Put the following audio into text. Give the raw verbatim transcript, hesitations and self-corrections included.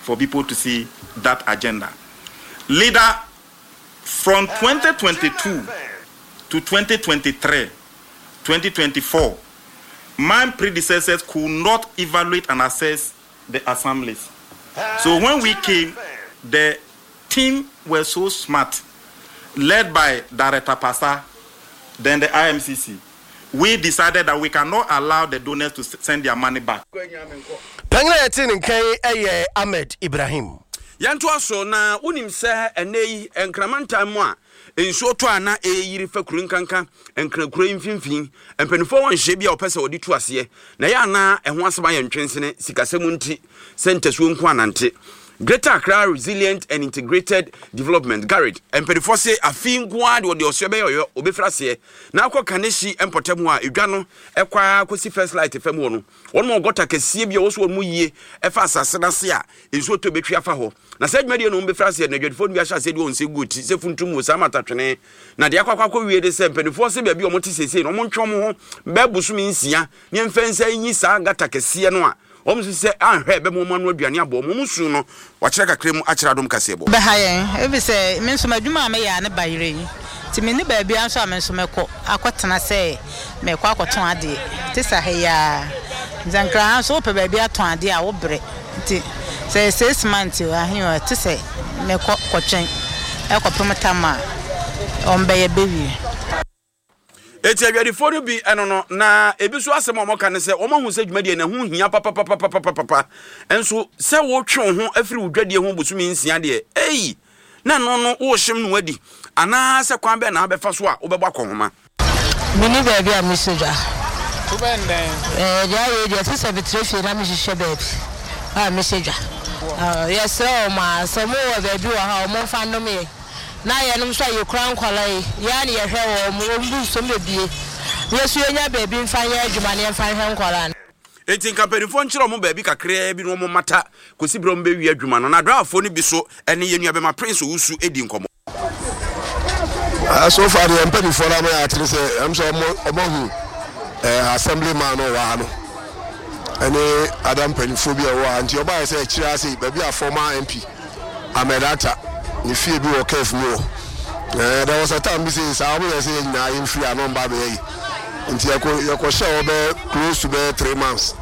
for people to see that agenda. Leader, from twenty twenty-two to twenty twenty-three, twenty twenty-four, my predecessors could not evaluate and assess the assemblies. So when we came, the team were so smart, led by Director Pasa, then the I M C C. We decided that we cannot allow the donors to send their money back. Panyin a yɛte ne nkan yɛ Ahmed Ibrahim. Yɛntoa so na wonim sɛ ɛnɛ yi nkramantam mu a nsuo tɔ a na ɛyiri fa kuro nkanka nkrakuro yi mfimfini, mpanimfoɔ wɔ nhyɛ bi a wɔpɛ sɛ wɔde tu aseɛ na ɛyɛ anaa ɛho asɛm ayɛ ntwensene sikasɛm nti sɛ ntasuo nko anante. Greater Accra Resilient and Integrated Development, GARID, mpanimfoɔ se afei nko ara de wɔde ɔsoɛ bɛyɛ ɔyɔ obɛfiri aseɛ na akɔ Kaneshie mpɔtam hɔ a edwa no ɛkɔ akɔsi First Light fam hɔ no, wɔn mu gutter kɛseɛ bi a wɔso wɔn mu yie ɛfa asase n'ase a nsuo tɔ bɛtwi afa hɔ. Na saa dwumadie no wɔn bɛfiri aseɛ na adwadifoɔ no bi ahyɛ aseɛ de wɔn nsa gu ti sɛ funtum wɔ saa matatwene na deɛ akɔ akɔ akɔ wie de sɛ mpanimfoɔ sɛ baabi a wɔn te seesei no, wɔn ntwe wɔn ho bɛɛ bosome nsia ne mfɛn nsa nyi saa gutter kɛseɛ no a wɔn nso sɛ ahwɛ bɛma wɔn ano aduane abɔ wɔn. Wɔn su no wakyerɛ kakra mu akyerɛ Adom Kaseɛ bɔ. Bɛha yɛn ebi sɛ me nso m'adwuma a meyɛ a ne ba yere yi nti me ne baabi nso a me nso mɛkɔ akɔtena sɛ mɛkɔ akɔtɔn adeɛ te sɛ ha yi a nti Nkran ha nso wopɛ baabi atɔn adeɛ a wobrɛ nti sɛ six months ahe o te sɛ mɛkɔ kɔtwɛn ɛkɔpem tam a ɔmbɛyɛ bɛwie. Eti adwadifoɔ no bi ɛno no na ebi nso asɛm a wɔka ne sɛ wɔn ahu sɛ dwumadie no ho hia papapapapapa, nso sɛ wɔtwe wo ho afiri wo dwadie ho bosome nsia deɛ, ei, na no no wɔrehyɛm no wadi anaasɛ kwan bɛn na wabɛfa so a wobɛbɔ akɔhoma? Meni baabi a mesɔ dwa deɛ ayɛ deɛ te sɛ metrɛ fie na mehyehyɛ baabi a mehyɛ dwa. Yɛsrɛ wɔ ma sɛ mowɔ baabi wɔ ha, ɔmo mfa nnom yɛ na yɛnom nso a yɛkura nkwala yi yɛa ne yɛhwɛ wɔ mo wɔn bu nsom bebie yɛso yɛnya baabi mfa nyɛ adwuma ne yɛmfa nhwɛ nkwala no. Eti nka mpanimfoɔ nkyerɛ ɔmo baabi kakraa bi na ɔmo mata kɔsi berɛ ɔmo bɛwie adwuma no. Na adraafoɔ no bi so ɛne yɛn nua bɛma Prince Owusu edi nkɔmmɔ. Uh, so far deɛ, mpanimfoɔ no ama yɛ akyerɛ sɛ ɛm sɛ ɔmo ɔmo ahu ɛɛ assembly man no wɔ ha no ɛne ada mpanimfoɔ bi a ɛwɔ ha, nti ɔbaayɛ sɛ akyire ase baabi a former M P Ahmed Atta ne fie bi wɔ kɛf mu hɔ. ɛɛ there was a time bi sɛ saa ɔmo yɛ sɛ yɛn nyinaa yɛn firi ano mba abɛyɛ yi, nti yɛkɔ yɛkɔhyɛ hɔ bɛyɛ close to bɛyɛ three months.